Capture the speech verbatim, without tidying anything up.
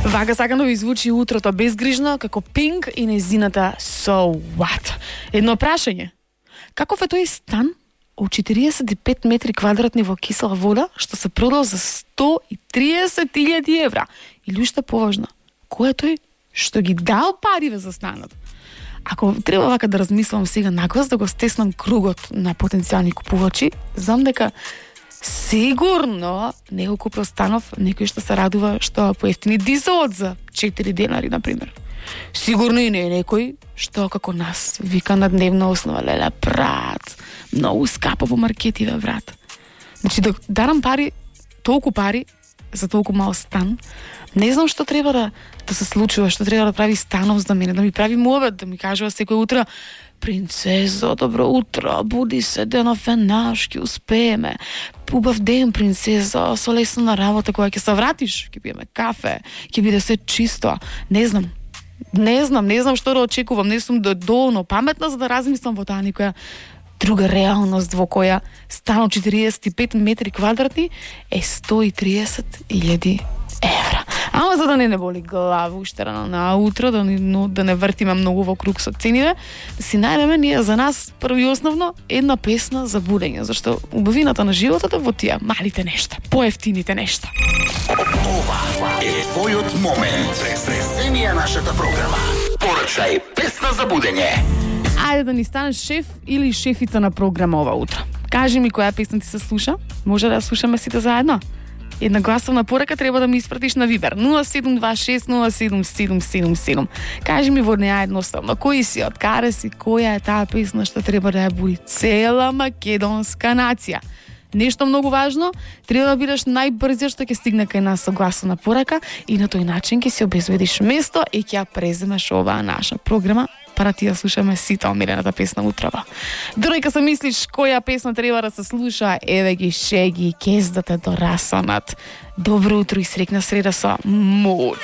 Вака сакам да ви звучи утрото безгрижно како Пинк и незината So What. Едно прашање. Каков е тој стан од четириесет и пет метри квадратни во кисела вода што се продал за сто и триесет илјади евра? Или уште поважно, кој е тој што ги дал париве за станот? Ако треба вака да размислам сега наглас, да го стеснам кругот на потенцијални купувачи, знам дека сигурно некој купил станов, некој што се радува што поевтини дизелот за четири денари, например. Сигурно и не е некој што како нас вика на дневна основа, леле, брат, многу скапо по маркетиве, брат. Значи, да дарам пари, толку пари за толку мал стан, не знам што треба да, да се случува, што треба да прави станов за мене, да ми прави мовет, да ми кажува секој утро: принцезо, добро утро, буди се, денов е наш, ќе успееме. Убав ден, принцезо, со лесно на работа, кога ќе се вратиш, ќе пиеме кафе, ќе биде се чисто. Не знам. Не знам, не знам што да очекувам, не сум доволно паметна за да размислам во таа некоја друга реалност во која станот четириесет и пет метри квадратни е сто и триесет илјади евра. Ама за да не не боли глава уште рано на утро, да, но, да не вртиме многу во круг со цениве, да си најдеме ние за нас прво и основно една песна за будење, зашто убавината на животот е во тие малите нешта, поевтините нешта. Ова е твојот момент. Преземи е нашата програма. Порачај песна за будење. Ајде да ни станеш шеф или шефица на програма ова утро. Кажи ми која песна ти се слуша, може да ја слушаме сите заедно. Една гласовна порака треба да ми испратиш на Вибер нула седум два шест нула седум седум седум седум. Кажи ми во неа едноставно кој си, од каде си, која е таа песна што треба да ја буди цела македонска нација. Нешто многу важно, треба да бидеш најбрзиот што ќе стигне кај нас со гласовна порака и на тој начин ќе си обезбедиш место и ќе ја преземеш оваа наша програма, пара ти да слушаме сите омилената песна утрово. Додека се мислиш која песна треба да се слуша, еве ги Шеги, Кездате до расанат. Добро утро и срекна среда со Мод.